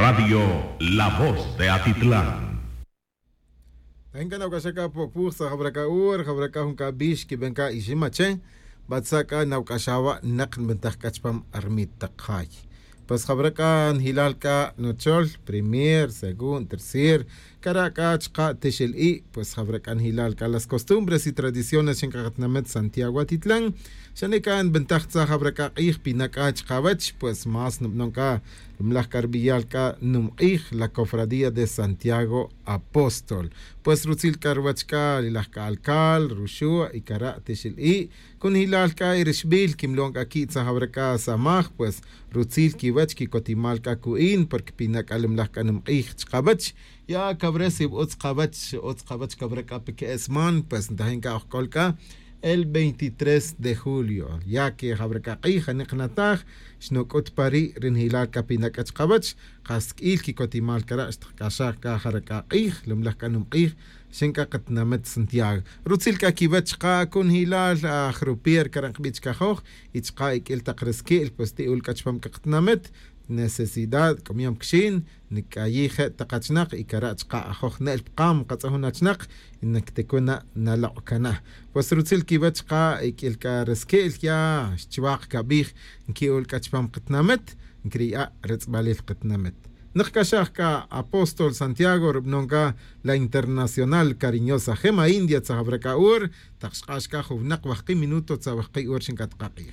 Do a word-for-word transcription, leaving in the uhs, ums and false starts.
Radio La Voz de Atitlán. Tahin c'a nawc'axa c'a po'puj sa' jawra c'a ur jawra c'a jun c'a bix quiben c'a iximache. Batza' c'a nawc'axa wa' nak nbentaj c'a chupam armit tak jay. Pues jawra c'a njilal c'a nuchol primer segundo tercer cara' c'a chka' tixel i'. Pues jawra c'a njilal c'a las costumbres y tradiciones xin c'a katnamet santiago atitlan. Xane' c'a nbentaj tza jawra c'a k'ij pina' c'a chkawech pues más nubnon c'a lumlaj c'a rbiyal c'a numk'ij la cofradía de santiago apóstol. Pues rutzil c'a ruwech c'a lilaj c'a alcal ruxu' y cara' tixil i' cunjilal c'a y rixbil quimlon c'a qui' tzajawra c'a samaj pues rutzil quiwech quicotimal c'a cu'in porque pina' c'a lumlaj c'a numk'ij chkawech. Ya cawre si utz kawech utz kawech cawre c'a pe que'esman pues ntajin c'a ojc'ol c'a el veintitrés de julio ya que jawre c'a k'ij janik nataj. Xnuc'ut pa ri' ri njilal c'a pina' c'a chkawech kas sq'uil quicotimal cara' xtakc'axaj c'a jare c'a k'ij lumlaj c'a num k'ij. Xin c'a katinamit santiago rutzil c'a quiwech chka' cunjilal aj rupier cara' nkbi' chkajoj y chka' iq'uil tak resqui'l pues ti' ul c'a chupam c'a katinamit necesidad c'amiyom quixin nic'ayij je' tak achinak y cara' chka' ajoj ne'l pkam katz'ajun achinak. Y nicticuna nalok' cana pues rutzil quiwech chka' iq'uil c'a resqui'l ya xchiwak cabij nqui'ul c'a chupam katinamit. Ncriya' retz'balil katinamit. Nakc'axaj c'a apóstol santiago rubanon c'a la internacional cariñosa jema india tzajawra c'a ur tak xk'ax c'a jun winak wajki' minuto tzawajki' ur xin c'a takak'ij.